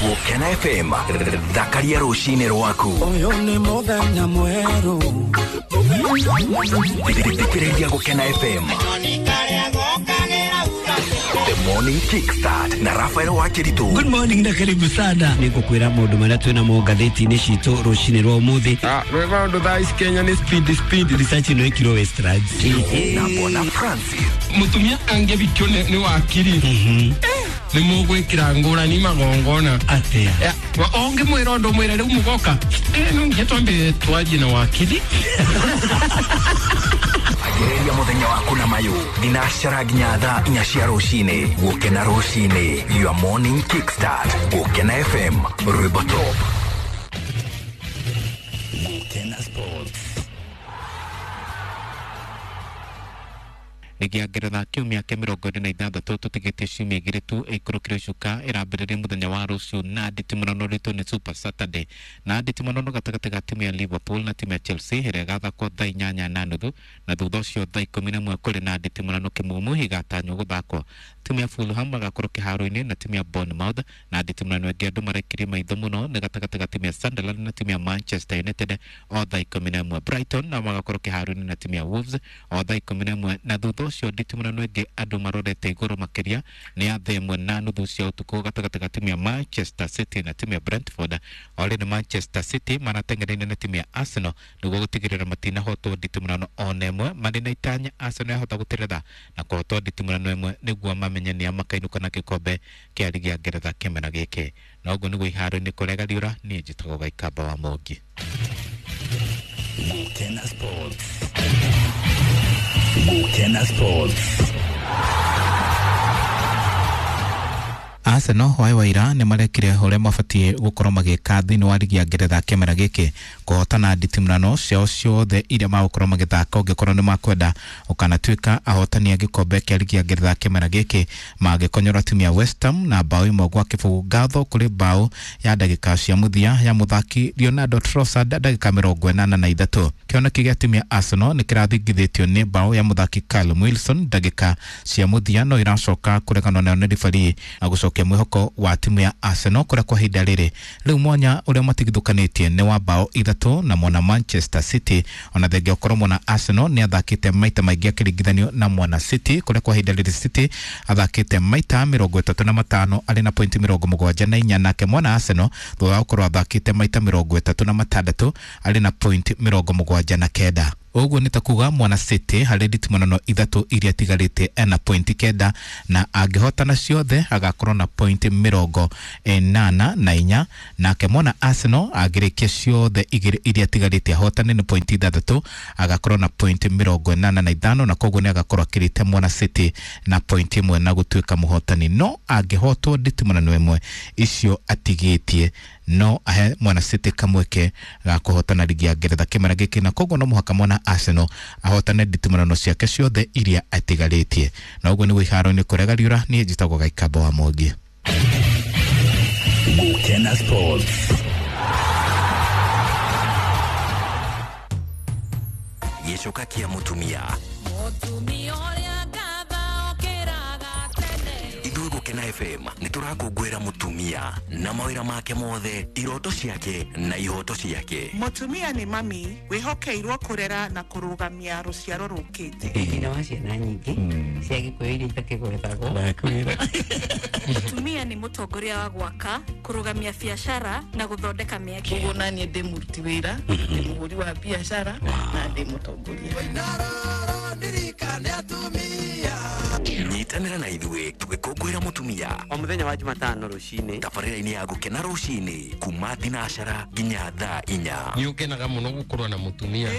Gũkena FM, thakaria rũcinĩ rwaku. Ũyũ nĩ mũthenya mwerũ. Thikĩrĩria Gũkena FM. The Morning Kickstart na Rafael Wakiritu. Good morning na karibu sana. Nĩngũkwĩra maũndũ marĩa twĩ namo ngathĩti-inĩ citũ rũcinĩ rwa ũmũthĩ. Rwĩ maũndũ thaa ici Kenya nĩ speed speed. Research ĩno ĩkirwo Westlands. Na Bwana Francis. Mũtumia angĩbikio nĩ wakiri nĩ mũgwĩkĩra ngũrani magongona. Atĩa? Ũngĩmwĩra ũndũ mwĩre rĩu mũgoka no nginya twambe twarie na wakiri. Anjĩrĩria mũthenya waku na mayũ thinacara nginya thaa 4 cia rũcinĩ. Gũkena rũcinĩ, your morning kickstart. Gũkena FM, rwĩmbo top. Gũkena Sports. Ligi ya Ngeretha kiumia kĩa 46 tũtigĩtie ciumia igĩrĩ tu ĩikũrũkĩrio cuka ĩrambĩrĩria mũthenya wa rũciũ na nditimũrano rĩtũ nĩ Super Saturday na nditimũrano gatagatĩ ga timu ya Liverpool na timu ya Chelsea ĩrĩa ĩgathakwo thaa 8:30 na thutha ũcio thaa 11 kũrĩ na nditimũrano kĩmumu igatanywo gũthakwo. Timu ya Fulham magakorwo kĩharo-inĩ na timu ya Bournemouth na nditimũrano ĩngĩ andũ marekirie maitho mũno nĩ gatagatĩ ga timu ya Sunderland na timu ya Manchester United o thaa 11. Brighton nao magakorwo kĩharo-inĩ na timu ya Wolves o thaa 11 na thutha ũcio nditimũrano ĩngĩ andũ marorete igũrũ makĩria nĩ ya thaa 1:30 cia ũtukũ gatagatĩ ga timu ya Manchester City na timu ya Brentford. O rĩrĩ Manchester City marateng'eraine na timu ya Arsenal nĩguo gũtigĩrĩra matinahotwo nditimũrano ona ĩmwe marĩ na itanya Arsenal yahota gũteretha na kũhotwo nditimũrano ĩmwe nĩguo mamenye nĩa makainũka na gĩkombe kĩa ligi ya Ngeretha kĩmera gĩkĩ. Na ũguo nĩguo iharo-inĩ kũrega riũra, niĩ njĩtagwo Gaikamba wa Mũngi. Gũkena Sports. Gũkena Sports. Arsenal hwaĩ wa ira nĩ marekire ũrĩa mabatiĩ gũkorwo magĩka thĩinĩ wa ligi ya Ngeretha kĩmera gĩkĩ kũhotana nditimũrano ciao ciothe iria magũkorwo magĩthaka ũngĩkorwo nĩ makwenda ũkanatuĩka ahotani a gĩkombe kĩa ligi ya Ngeretha kĩmera gĩkĩ magĩkonyora timu ya West Ham na bao 1-0 ngatho kũrĩ bao ya ndagĩka cia mũthia ya mũthaki Leonardo Trossard ndagĩka 83. Kĩoneki gĩa timu ya Arsenal nĩ kĩrathingithĩtio nĩ bao ya mũthaki Callum Wilson ndagĩka cia mũthia no iracoka kũreganwo nayo nĩ referee na gũcokia mwĩhoko wa timu ya Arsenal kũrĩa kwa ihinda rĩrĩ rĩu mwanya ũrĩa matigithũkanĩtie nĩ wa bao 3 na mwana Manchester City. Ona thengia ũkorwo mwana Arsenal nĩ athakĩte maita maingĩ akĩringithanio na mwana City kũrĩa kwa ihinda rĩrĩ City athakĩte maita 35 arĩ na pointi 74 nake mwana Arsenal thutha wa gũkorwo athakĩte maita 36 arĩ na pointi 79. Ũguo nĩ ta kuga mwana City harĩ nditimũrano 3 iria atigarĩte ena pointi 9 na angĩhotana ciothe agakorwo na pointi 84 nake mwana Arsenal angĩrĩkia ciothe 2 iria atigarĩte ahotane nĩ pointi 6 agakorwo na pointi 85 na koguo nĩ agakorwo akĩrĩte mwana City na pointi 1 na gũtuĩka mũhotani. No angĩhotwo nditimũrano ĩmwe icio atigĩtie no ahe mwana City kamweke ga kũhotana ligi ya Ngeretha kĩmera gĩkĩ na koguo no mũhaka mwana Arsenal ahotane nditimũrano ciake ciothe iria atigarĩtie. Na ũguo nĩguo iharo-inĩ kũrega riũra, niĩ njĩtagwo Gaikamba wa Mwangi. Gũkena Sports. Gĩcoka kĩa mũtumia. Ithuĩ Gũkena FM nĩ tũrakũngũĩra mũtumia na mawĩra make mothe, iroto ciake na ihoto ciake. Mũtumia nĩ mami wĩhokeirwo kũrera na kũrũgamia rũciaro rũkĩte. Nyina wa ciana nyingĩ cia Gĩkũyũ iria itakĩgwetagwo. Mũtumia nĩ mũtongoria wa gwaka, kũrũgamia biacara na gũthondeka mĩeke. Ũguo naniĩ ndĩ mũruti wĩra, ndĩ mũhũri wa biacara na ndĩ mũtongoria. Nyitanĩra na ithuĩ tũgĩkũngũĩra mũtumia o mũthenya wa Jumatano rũcinĩ tabarĩra-inĩ ya Gũkena rũcinĩ kuma thinacara nginya thaa 4. Nĩ ũkenaga mũno gũkorwo na mũtumia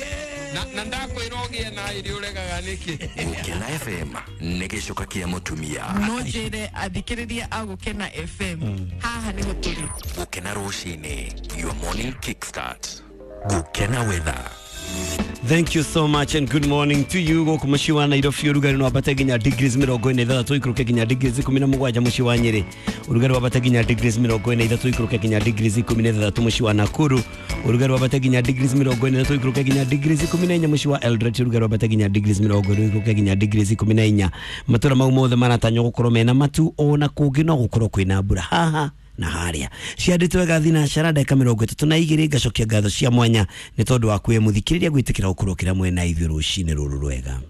na ndakwĩra ũgĩe na ĩrĩ ũregaga nĩkĩ. Gũkena FM nĩ gĩcoka kĩa mũtumia. No njĩre athikĩrĩria a Gũkena FM haha nĩho tũrĩ. Gũkena rũcinĩ, your morning kickstart. Gũkena weather. Thank you so much and good morning to you. Gũkũ mũciĩ wa Nairobi ũrugarĩ no wambate nginya degrees 43 ikũrũke nginya degrees 17 mũciĩ wa Nyĩrĩ. Ũrugarĩ wambate nginya degrees 43 ikũrũke nginya degrees 16 mũciĩ wa Nakuru. Ũrugarĩ wambate nginya degrees 43 ikũrũke nginya degrees 14 mũciĩ wa Eldoret. Ũrugarĩ wambate nginya degrees 20 ikũrũke nginya degrees 14. Matũra mau mothe maratanywo gũkorwo mena matu ona kũngĩ no gũkorwo kwĩna mbura. Haha Na harĩa ciandĩtwo wega thinacara ndagĩka 32. Ngacokia ngatho cia mwanya nĩ tondũ wa kwĩ mũthikĩrĩria gwĩtĩkĩra gũkorwo kĩra mwena ithuĩ rũcinĩ rũrũ rwega.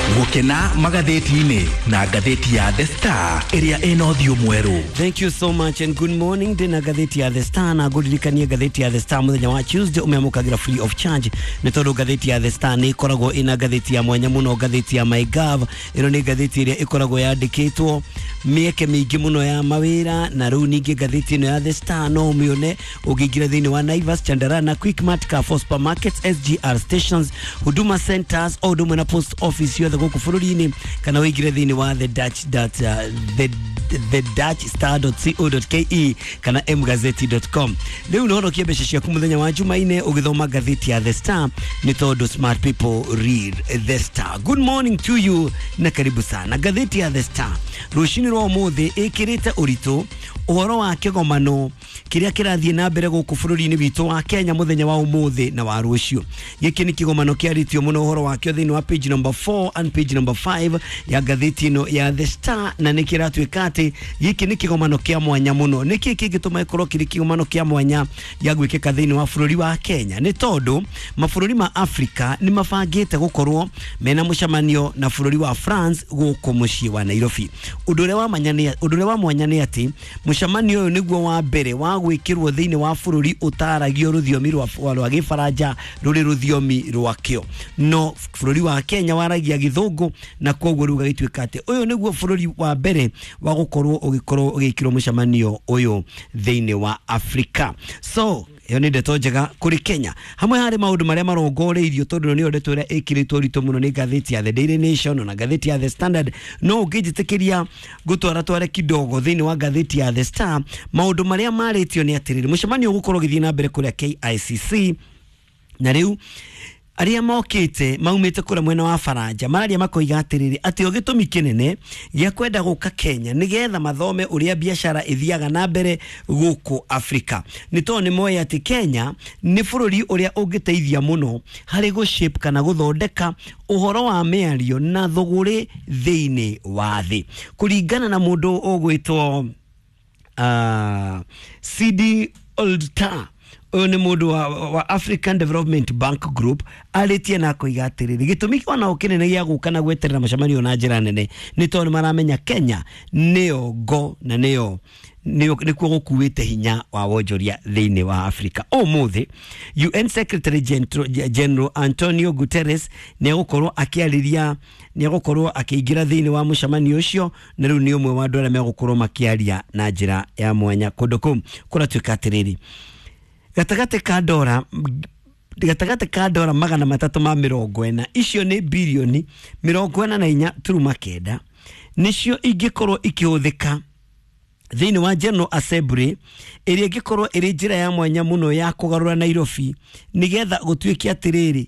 Gũkena magathĩti-inĩ na ngathĩti ya The Star ĩrĩa ĩna ũthiũ mwerũ. Thank you so much and good morning. Ndĩna ngathĩti ya The Star na ngũririkanie ngathĩti ya The Star mũthenya wa Tuesday ũmĩamũkagĩra free of charge, nĩ tondũ ngathĩti ya The Star nĩ ĩkoragwo ĩna ngathĩti ya mwanya mũno, ngathĩti ya MyGov. Ĩno nĩ ngathĩti ĩrĩa ĩkoragwo yandĩkĩtwo mĩeke mĩingĩ mũno ya mawĩra, na rĩu ningĩ ngathĩti ĩno ya The Star no ũmĩone ũngĩingĩra thĩinĩ wa Naivas, Chandarana, Quickmart, Carrefour Supermarkets, SGR stations, Huduma Centers o ũndũ ũmwe na post office yothe gũkũ bũrũri-inĩ, kana ũingĩre thĩinĩ wa the Dutch dot, the dutchstar.co.ke kana mgazeti.com. Rĩu no ũhonokie mbeca ciaku mũthenya wa Jumaine ũgĩthoma ngathĩti ya The Star, nĩ tondũ smart people read The Star. Good morning to you na karibu sana. Ngathĩti ya The Star rũcinĩ rwa ũmũthĩ ĩkĩrĩte ũritũ ũhoro wa kĩgomano kĩrĩa kĩrathiĩ na mbere gũkũ bũrũri-inĩ witũ wa Kenya mũthenya wa ũmũthĩ na wa rũciũ. Gĩkĩ nĩ kĩgomano kĩarĩtio mũno ũhoro wakĩo thĩinĩ wa page number 4 and page number 5 ya ngathĩti ĩno ya The Star, na nĩ kĩratuĩka atĩ gĩkĩ nĩ kĩgomano kĩa mwanya mũno. Nĩkĩ kĩngĩtũma gĩkorwo kĩrĩ kĩgomano kĩa mwanya gĩa gwĩkĩka thĩinĩ wa bũrũri wa Kenya? Nĩ tondũ mabũrũri ma Afrika nĩ mabangĩte gũkorwo mena mũcemanio na bũrũri wa France gũkũ mũciĩ wa Nairobi. Ũndũ ũrĩa wa mwanya nĩ atĩ mũcemanio ũyũ nĩguo wa mbere wa gwĩkĩrwo thĩinĩ wa bũrũri ũtaragio rũthiomi rwa Gĩbaranja rũrĩ rũthiomi rwakĩo, no bũrũri wa Kenya waragia Gĩthũngũ, na koguo rĩu gagĩtuĩka atĩ ũyũ nĩguo bũrũri wa mbere wa gũkorwo ũgĩkorwo ũgĩkĩrwo mũcemanio ũyũ thĩinĩ wa Afrika. So ĩyo nĩ ndeto njega kũrĩ Kenya. Hamwe harĩ maũndũ marĩa marongoreirio, tondũ nĩyo ndeto ĩrĩa ĩkĩrĩtwo ũritũ mũno nĩ ngathĩti ya The Daily Nation na ngathĩti ya The Standard, no ũngĩnjĩtĩkĩria ngũtwara tware kidogo thĩinĩ wa ngathĩti ya The Star, maũndũ marĩa marĩtio nĩ atĩrĩrĩ, mũcemanio ũgũkorwo ũgĩthiĩ na mbere kũrĩa KICC, na rĩu arĩa mokĩte maumĩte kũrĩa mwena wa Faranja mararia makoiga atĩrĩrĩ, atĩ o gĩtũmi kĩnene gĩa kwenda gũka Kenya nĩgetha mathome ũrĩa biacara ĩthiaga na mbere gũkũ Afrika, nĩ tondũ nĩ moĩ atĩ Kenya nĩ bũrũri ũrĩa ũngĩteithia mũno harĩ gũ-shape kana gũthondeka ũhoro wa mĩario na thũgũrĩ thĩinĩ wa thĩ. Kũringana na mũndũ ũgwĩtwo CD Oldtar, ũyũ nĩ mũndũ wa African Development Bank Group, arĩtie na akoiga atĩrĩrĩ, gĩtũmi onao kĩnene gĩa gũka na gweterera mũcemanio na njĩra nene nĩ tondũ nĩ maramenya Kenya nĩyo ngo na nĩyo nĩkuo gũkuĩte hinya wa wonjoria thĩinĩ wa Afrika. Ũmũthĩ UN Secretary General Antonio Guterres nĩ egũkorwo akĩarĩria, nĩ egũkorwo akĩingĩra thĩinĩ wa mũcemanio ũcio, na rĩu nĩ ũmwe wa andũ arĩa megũkorwo makĩaria na njĩra ya mwanya kũndũ kũu. Kũratuĩka atĩrĩrĩ, gatagatĩ ka dora 340, icio nĩ birioni 44.9, nĩcio ingĩkorwo ikĩhũthĩka thĩinĩ wa General Assembly ĩrĩa ĩngĩkorwo ĩrĩ njĩra ya mwanya mũno ya kũgarũra Nairobi, nĩgetha gũtuĩke atĩrĩrĩ,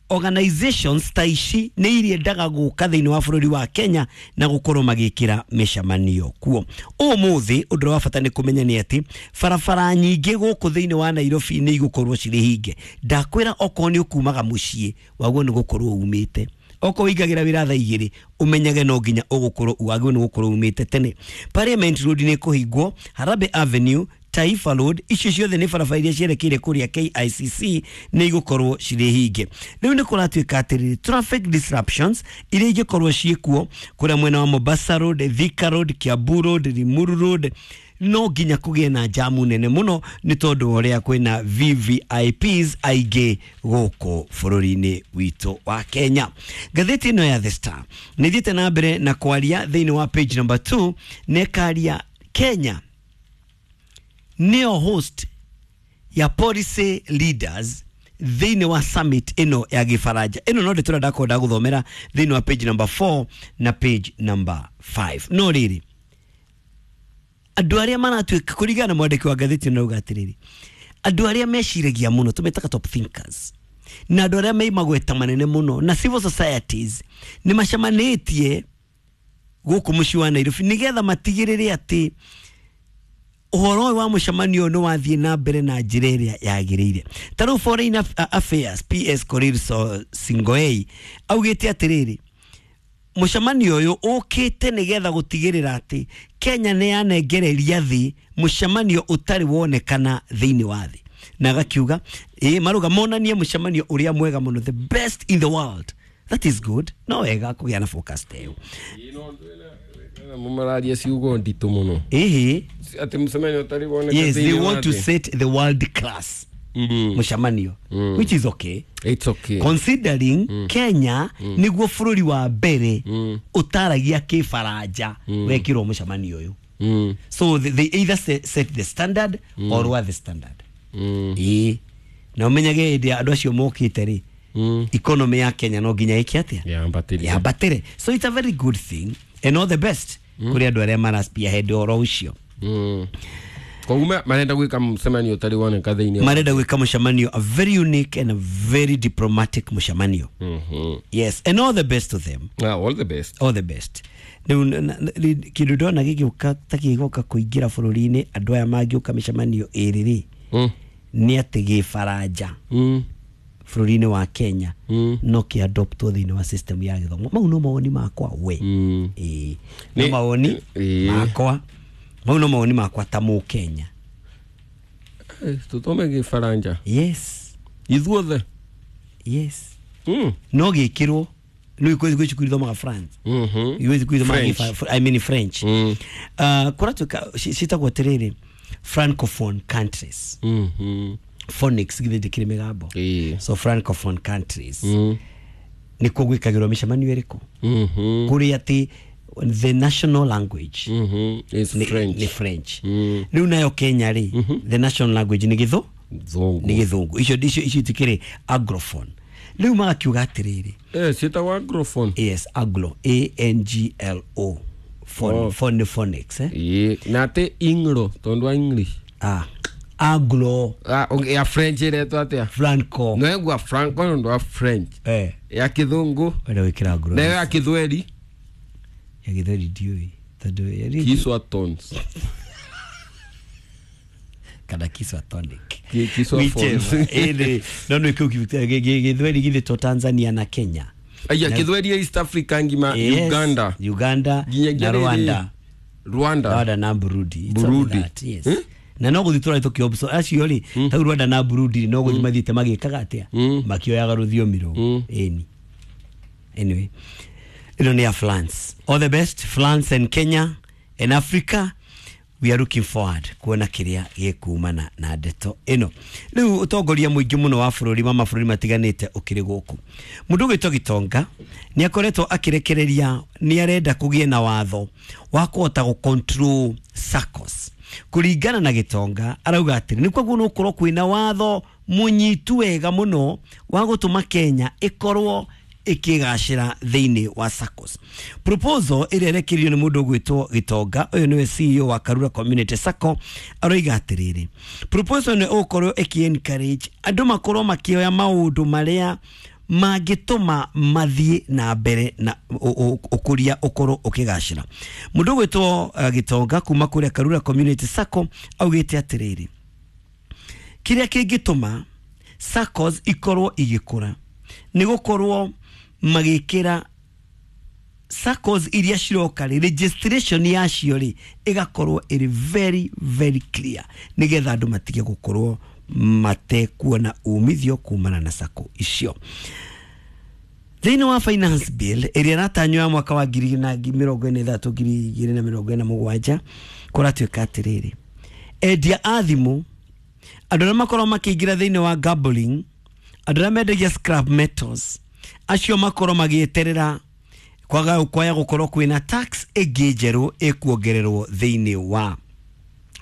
organizations ta ici nĩ iriendaga gũka thĩinĩ wa bũrũri wa Kenya na gũkorwo magĩkĩra mĩcemanio kuo. Ũmũthĩ ũndũ wa bata nĩ kũmenya nĩ atĩ barabara nyingĩ gũkũ thĩinĩ wa Nairobi nĩ igũkorwo cirĩ hinge. Ndakwĩra okorwo nĩ ũkumaga mũciĩ waguo nĩ gũkorwo umĩte, okorwo ũingagĩra wĩra thaa 2 ũmenyage no nginya ũgũkorwo wagĩrĩirwo nĩ gũkorwo umĩte tene. Parliament Road nĩ kũhingwo, Harambee Avenue, Taifa Road, icio ciothe nĩ barabara iria cierekeire kũrĩa KICC nĩ igũkorwo cirĩ hinge. Rĩu nĩ kũratuĩka atĩrĩrĩ, traffic disruptions iria ingĩkorwo ciĩkuo kũrĩa mwena wa Mombasa Road, Thika Road, Kiambu Road, Limuru Road, no nginya kũgĩe na jamu nene mũno nĩ tondũ wa ũrĩa kwĩna VVIPs aingĩ gũkũ bũrũri-inĩ witũ wa Kenya. Ngathĩti ĩno ya The Star nĩ ĩthiĩte na mbere na kwaria thĩinĩ wa page number 2, na ĩkaria Kenya nĩyo host ya policy leaders thĩinĩ wa summit ĩno ya Gĩbaranja. Ĩno no ndĩtũra ndakwenda gũthomera thĩinĩ wa page number 4 na page number 5. No rĩrĩ, andũ arĩa maratuĩka kũringana na mwandĩki wa ngathĩti ĩno auga atĩrĩrĩ, andũ arĩa meciragia mũno tũmetaga top thinkers, na andũ arĩa me magweta manene mũno na civil societies nĩ macemanĩtie gũkũ mũciĩ wa Nairobi nĩgetha matigĩrĩre atĩ ũhoro ũyũ wa mũcemanio nĩ wathiĩ na mbere na njĩra ĩrĩa yagĩrĩire. Ta rĩu Foreign Affairs PS Korir Sing'oei augĩte atĩrĩrĩ, Mũcemanio ũyũ ũkĩte nĩgetha gũtigĩrĩra atĩ Kenya nĩ yanengereria thĩ mũcemanio ũtarĩ wonekana thĩinĩ wa thĩ. Na agakiuga maruga monanie mũcemanio ũrĩa mwega mũno, the best in the world. That is good. No wega kũgĩa na focus ta ĩyo. Mararia ciugo nditũ mũno. Ĩhĩ. Atĩ mũcemanio ũtarĩ woneka. Yes, they want to set the world class mũcemanio, which is okay. It's okay. Considering Kenya niguo bũrũri wa mbere ũtaragia kĩbaranja wekirwo mũcemanio ũyũ. So they either set the standard or lower the standard. Ĩĩ. Na ũmenyage hĩndĩ andũ acio mokĩte rĩ, economy ya Kenya no nginya ĩke atĩa? Yambatĩre. So it's a very good thing and all the best kũrĩ andũ arĩa mara spearhead ũhoro ũcio. Koguo marenda gwĩka mũcemanio ũtarĩ woneka thĩinĩ. Marenda gwĩka mũcemanio, a very unique and a very diplomatic mũcemanio. Yes, and all the best to them. All the best. All the best. Rĩu kĩndũ ndona gĩgĩũka ta gĩgoka kũingĩra bũrũri-inĩ andũ aya mangĩũka mĩcemanio ĩrĩ rĩ, nĩ atĩ gĩbaranja bũrũri-inĩ wa Kenya no kĩadoptwo thĩinĩ wa system ya gĩthomo. Mau no mawoni makwa we. Ĩĩ. No mawoni makwa. Mau no mawoni makwa ta Mũkenya. Tũthome gĩbaranja. Yes. Ithuothe. Yes. No gĩkĩrwo nĩ kwĩ cukuru ithomaga France. Gwĩ cukuru ithomaga I mean French. Kũratuĩka ciĩtagwo atĩrĩrĩ francophone countries. Phonics githĩ ndĩkĩrĩ mĩgambo. So francophone countries. Nĩkuo gwĩkagĩrwo mĩcemanio ĩrĩkũ? Kũrĩa atĩ the national language is French. Ni French. Rĩu nayo Kenya rĩ, the national language nĩ gĩthũngũ. Nĩ gĩthũngũ. Icio itikĩrĩ anglophone. Rĩu magakiuga atĩrĩrĩ. Ciĩtagwo anglophone. Yes, anglo, A N G L O. Phone phonics, eh? Na atĩ inglo tondũ wa English. Anglo. Ya French ĩretwo atĩa? Franco. No egua Franco nĩ ũndũ wa French. Ya kĩthũngũ. Wenda gwĩkĩra anglo. Na ya kĩthweri. Ya gĩthweri ndiũĩ. Tondũ Kiswa tones. Kana Kiswa tonic. Kiswa phones. No nĩ kĩu gĩthweri githĩtwo Tanzania na Kenya. Aya kĩthweri ya East Africa ngima. Yes, Uganda. Uganda na Rwanda. Rwanda na Burundi. Burundi. Yes. Na no gũthiĩ tũrathiĩ tũkĩobso acio rĩ, ta Rwanda na Burundi no gũthiĩ mathiĩte magĩkaga atĩa? Makĩoyaga rũthiomi rũu. Ĩni. Anyway, ĩno nĩ ya France. All the best France and Kenya and Africa. We are looking forward kuona kĩrĩa gĩkumana na ndeto ĩno. Rĩu ũtongoria mũingĩ mũno wa bũrũri wa mabũrũri matiganĩte ũkĩrĩ gũkũ. Mũndũ ũgwĩtwo Gitonga nĩ akoretwo akĩrekereria nĩ arenda kũgĩe na watho wa kũhota gũ control SACCOs. Kũringana na Gitonga arauga atĩrĩ nĩ koguo no gũkorwo kwĩna watho mũnyitu wega mũno wa gũtũma Kenya ĩkorwo ikigacira thĩinĩ wa SACCOs. Proposal ĩrĩa ĩrekereirio nĩ mũndũ ũgwĩtwo Gitonga, ũyũ nĩwe CEO wa Karura Community SACCO, aroiga atĩrĩrĩ, proposal nĩ ũgũkorwo ĩkĩ encourage andũ makorwo makĩoya maũndũ marĩa mangĩtũma mathiĩ na mbere na ũkũria ũkorwo ũkĩgacĩra. Mũndũ ũgwĩtwo Gitonga kuma kũrĩa Karura Community SACCO augĩte atĩrĩrĩ, kĩrĩa kĩngĩtũma SACCOs ikorwo igĩkũra nĩ gũkorwo magĩkĩra SACCOs iria ciroka rĩ, registration yacio rĩ ĩgakorwo ĩrĩ very very clear nĩgetha andũ matige gũkorwo matekuona umithio kumana na SACCO icio. Thĩinĩ wa finance bill ĩrĩa ĩratanywo ya mwaka wa 2023 2027 kũratuĩka atĩrĩrĩ, endia a thimũ, andũ arĩa makorwo makĩingĩra thĩinĩ wa gambling, andũ arĩa mendagia scrap metals, acio makorwo magĩeterera kwaga kwaya gũkorwo kwĩna tax ĩngĩ njerũ ĩkuongererwo thĩinĩ wa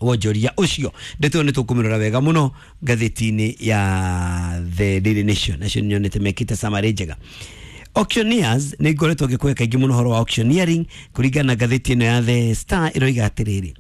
wonjoria ũcio. Ndeto nĩ tũkũmĩrora wega mũno ngathĩti-inĩ ya The Daily Nation, nacio nyonete mekĩte summary njega. Auctioneers nĩ ngoretwo ngĩkũhe kaingĩ mũno ũhoro wa auctioneering kũringana na ngathĩti ĩno ya The Star ĩroiga atĩrĩrĩ,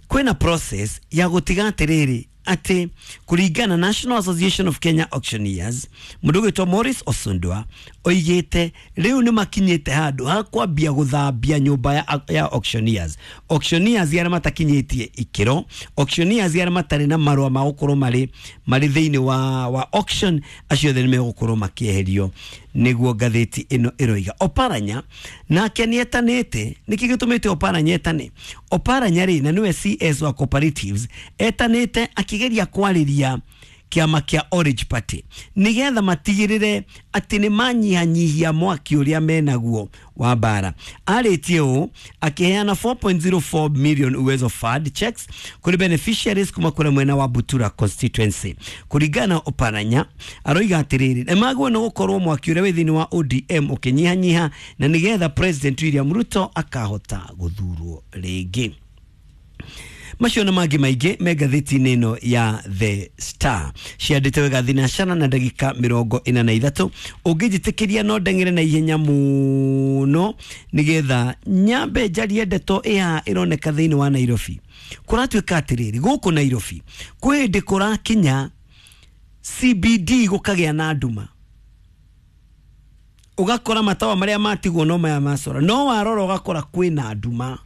kwĩna process ya gũtiga atĩrĩrĩ atĩ kũringana National Association of Kenya Auctioneers, mũndũ ũgwĩtwo Maurice Osundwa oigĩte rĩu nĩ makinyĩte handũ ha kwambia gũthambia nyũmba ya auctioneers. Auctioneers arĩa matakinyĩtie ikĩro, auctioneers arĩa matarĩ na marũa ma gũkorwo marĩ thĩinĩ wa auction, acio othe nĩ megũkorwo makĩeherio Nĩguo ngathĩti ĩno ĩroiga. Oparanya nake nĩetanĩte. Nĩkĩ gĩtũmĩte Oparanya etane? Oparanya rĩ, na nĩwe CS wa cooperatives, etanĩte akĩgeria kwarĩria kĩama kĩa Orange Party nĩgetha matigĩrĩre atĩ nĩ manyihanyihia mwaki ũrĩa menaguo wa mbara. Arĩtie ũũ akĩheana 4.04 million Uwezo Fund checks kũrĩ beneficiaries kuma kũrĩ mwena wa Butura constituency. Kũringana na Oparanya, aroiga atĩrĩrĩ, nĩ magwo nĩ gũkorwo mwaki ũrĩa wĩ thĩinĩ wa ODM ũkĩnyihanyiha na nĩgetha President William Ruto akahota gũthurwo rĩngĩ. Macio na mangĩ maingĩ me ngathĩti-inĩ ĩno ya The Star. Ciandĩte wega thinacana na ndagĩka 43. Ũngĩnjĩtĩkĩria no ndeng'ere na ihenya mũno nĩgetha nyambe njarie ndeto ĩhaha ĩroneka thĩinĩ wa Nairobi. Kũratuĩka atĩrĩrĩ, gũkũ Nairobi kwĩ hĩndĩ kũrakinya CBD gũkagĩa na nduma, ũgakora matawa marĩa matigwo no maya macora, no warora ũgakora kwĩna nduma.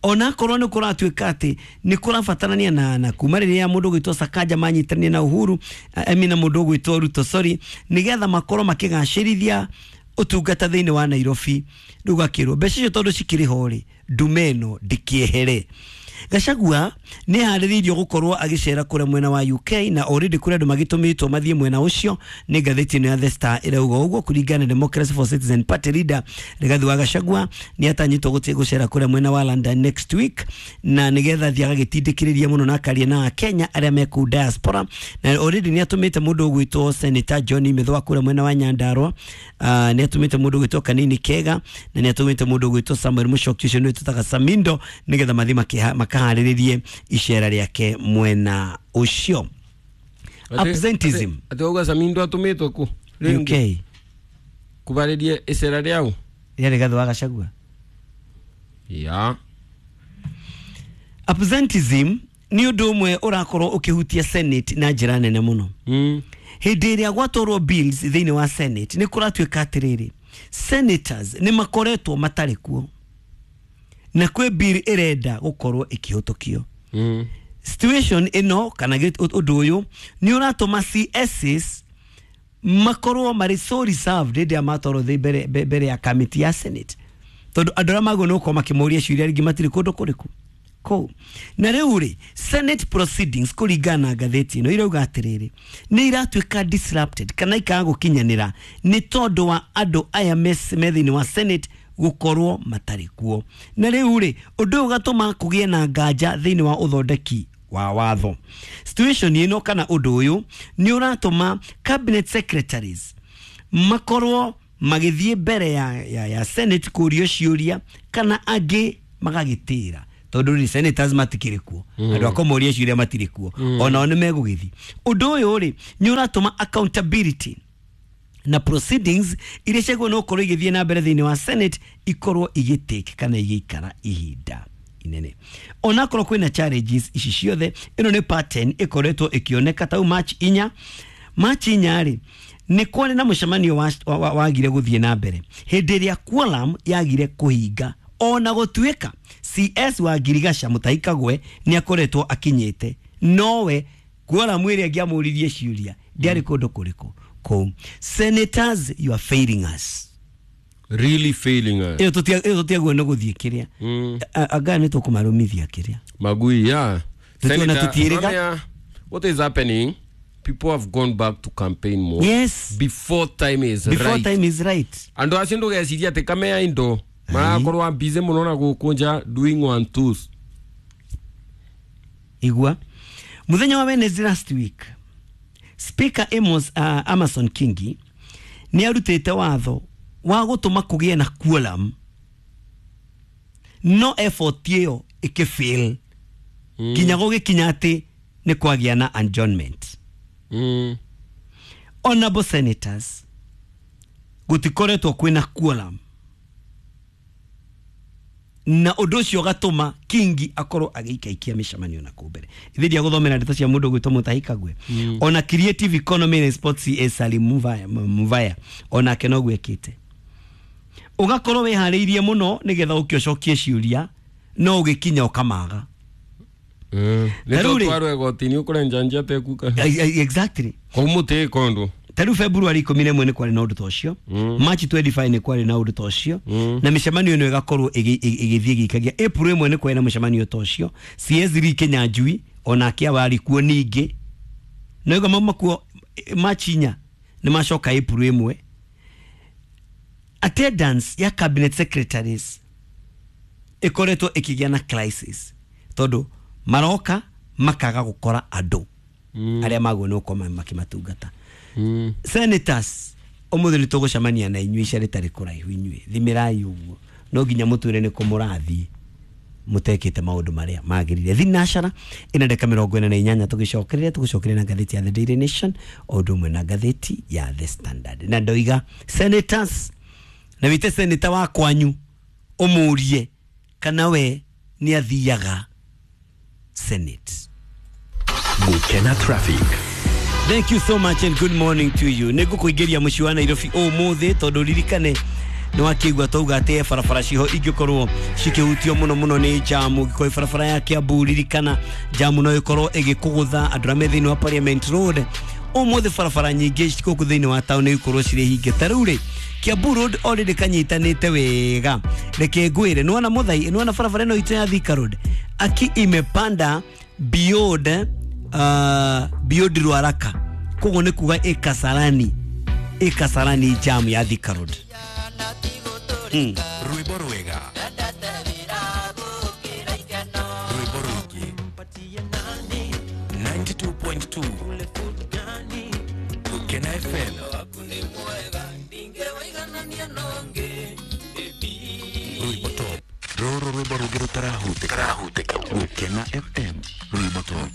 Onakorwo nĩ kũratuĩka atĩ nĩ kũrabatarania na kuma rĩrĩa mũndũ ũgwĩtwo Sakaja manyitania na Uhuru, I mean na mũndũ ũgwĩtwo Ruto, sorry, nĩgetha makorwo makĩgacĩrithia ũtungata thĩinĩ wa Nairobi. Rĩu gakĩrwo mbeca icio tondũ cikĩrĩ ho rĩ, ndume ĩno ndĩkĩehere. Gachagua nĩ harĩrĩirio gũkorwo agĩcera kũrĩa mwena wa UK, na already kũrĩ andũ magĩtũmĩtwo mathiĩ mwena ũcio. Nĩ ngathĩti ĩno ya The Star ĩrauga ũguo. Kũringana na Democracy for Citizen Party leader Rigathi wa Gachagua, nĩ atanyĩtwo gũthiĩ gũcera kũrĩa mwena wa London next week, na nĩgetha athiĩ agagĩtindĩkĩrĩria mũno na akaria na Akenya arĩa me kũu diaspora. Na already nĩ atũmĩte mũndũ ũgwĩtwo Senator John Mithwa kũrĩa mwena wa Nyandarua, nĩ atũmĩte mũndũ ũgwĩtwo Kanini Kega, na nĩ atũmĩte mũndũ ũgwĩtwo Samuel Mũchoki, ũcio nĩwe tũtaga Samindo, nĩgetha mathiĩ makaharĩrĩrie icera rĩake mwena ũcio. Absenteeism. Atĩ wauga Samindo atũmĩtwo kũ? UK. Kũbarĩria icera rĩau? Rĩa Rigathi wa Gachagua. Ya. Absenteeism nĩ ũndũ ũmwe ũrakorwo ũkĩhutia Senate na njĩra nene mũno. Hĩndĩ ĩrĩa gwatwarwo bills thĩinĩ wa Senate, nĩ kũratuĩka atĩrĩrĩ, senators nĩ makoretwo matarĩ kuo, na kwĩ bill ĩrenda gũkorwo ĩkĩhĩtũkio. Situation ĩno kana ũndũ ũyũ nĩ ũratũma CSs makorwo marĩ so reserved hĩndĩ ĩrĩa matwarwo thĩ mbere ya committee ya Senate, tondũ andũ arĩa magwo nĩ gũkorwo makĩmoria ciũria rĩngĩ matirĩ kũndũ kũrĩkũ kũu. Na rĩu rĩ, Senate proceedings kũringana na ngathĩti ĩno irauga atĩrĩrĩ, nĩ iratuĩka disrupted kana ikaga gũkinyanĩra nĩ tondũ wa andũ aya me thĩinĩ wa Senate gũkorwo matarĩ kuo. Na rĩu rĩ, ũndũ ũyũ ũgatũma kũgĩe na nganja thĩinĩ wa ũthondeki wa watho. Situation ĩno kana ũndũ ũyũ nĩ ũratũma cabinet secretaries makorwo magĩthiĩ mbere ya Senate kũrio ciũria, kana angĩ magagĩtĩra, tondũ rĩ senators matikĩrĩ kuo, andũ a kũmoria ciũria matirĩ kuo, onao nĩ megũgĩthiĩ. Ũndũ ũyũ rĩ nĩ ũratũma accountability na proceedings iria ciagwo no gũkorwo igĩthiĩ na mbere thĩinĩ wa Senate ikorwo igĩtake kana igĩikara ihinda inene. Onakorwo kwĩna challenges ici ciothe, ĩno nĩ pattern ĩkoretwo ĩkĩoneka. Tau March 4, March 4 rĩ, nĩ kwarĩ na mũcemanio wagire gũthiĩ na mbere hĩndĩ ĩrĩa quorum yagire kũhinga, ona gũtuĩka CS wa Girigasha Mutahi Kagwe nĩ akoretwo akinyĩte, nowe quorum ĩrĩa ĩngĩamũririe ciũria ndĩarĩ kũndũ kũrĩkũ kũu. Senators, you are failing us. Really failing us. Ĩyo tũtiagwo nĩ gũthiĩ kĩrĩa. Anga nĩ tũkũmarũmithia kĩrĩa. Magui, yeah. Senator, tutierega. What is happening? People have gone back to campaign mode. Yes. Before time is right. Before time is right. Andũ acio ndũgeciria atĩ kamea indo marakorwo busy mũno na gũkũnja doing one twos. Igua. Mũthenya wa Wednesday last week, Speaker Amos Amason Kingi nĩ arutĩte watho wa gũtũma kũgĩe na quorum, no effort ĩyo ĩkĩfail nginya gũgĩkinya atĩ nĩ kwagĩa na adjournment. Honorable senators, gũtikoretwo kwĩna quorum, na ũndũ ũcio ũgatũma Kingi akorwo agĩikaikia mĩcemanio na kũu mbere. Ithe ndiagũthomera ndeto cia mũndũ ũgwĩtwo Mutahi Kagwe. Ona Creative Economy and Sports CS Salim Muvaya onake noguo ekĩte. Ũgakorwo wĩharĩirie mũno nĩgetha ũke ũcokie ciũria, no ũgĩkinya ũkamaga. Nĩ tũtwarwo igoti-inĩ ũkũrenja nja tekuka. Exactly. Kũu mũtĩ kondo. Ta rĩu February 11 nĩ kwarĩ na ũndũ ta ũcio, March 25 nĩ kwarĩ na ũndũ ta ũcio, na mĩcemanio ĩno ĩgakorwo ĩgĩthiĩ ĩgĩikagia. April 1 nĩ kwarĩ na mũcemanio ta ũcio, CS3 Kinyanjui onake awarĩ kuo ningĩ na ĩgo mauma kuo March 4 nĩ macoka April 1. Attendance ya cabinet secretaries ĩkoretwo ĩkĩgĩa na crisis tondũ maroka makaga gũkora andũ arĩa magwo nĩ gũkorwo makĩmatungata. Senators, ũmũthĩ nĩ tũgũcemania na inyuĩ ica rĩtarĩ kũraihu. Inyuĩ thimĩrai ũguo, no nginya mũtwĩre nĩ kũ mũrathiĩ mutekĩte maũndũ marĩa magĩrĩire. Thinacara ĩna ndeka 48, tũgĩcokereria tũgũcokeria na ngathĩti ya The Daily Nation o ũndũ ũmwe na ngathĩti ya The Standard. Na ndoiga senators, na wĩte senator wa kwanyu ũmũrie kana we nĩ athiaga senate. Gukena Traffic. Thank you so much and good morning to you. Nĩ ngũkũingĩria mũciĩ wa Nairobi ũmũthĩ tondũ ririkane nĩ wakĩigua twauga atĩ barabara ciho ingĩkorwo cikĩhutio mũno mũno nĩ jamu. Ũngĩkorwo barabara ya Kiambu, ririkana jamu no ĩkorwo ĩgĩkũgũtha andũ arĩa me thĩinĩ wa Parliament Road. Ũmũthĩ barabara nyingĩ gũkũ thĩinĩ wa town ikorwo cirĩ hinge. Ta rĩu rĩ, Kiambu Road already kanyitanĩte wega. Reke ngwĩre, nĩwona mũthai, nĩwona barabara ĩno itũ ya Thika Road aki imepanda beyond Ruaraka, koguo nĩ kuga ĩ Kasarani jam ya Thika Road. Rwĩmbo rwega, rwĩmbo rũingĩ, 92.2 Gukena FM. Rwĩmbo top, rũrũ rwĩmbo rũngĩ rũtarahutĩka. Gukena FM, rwĩmbo top.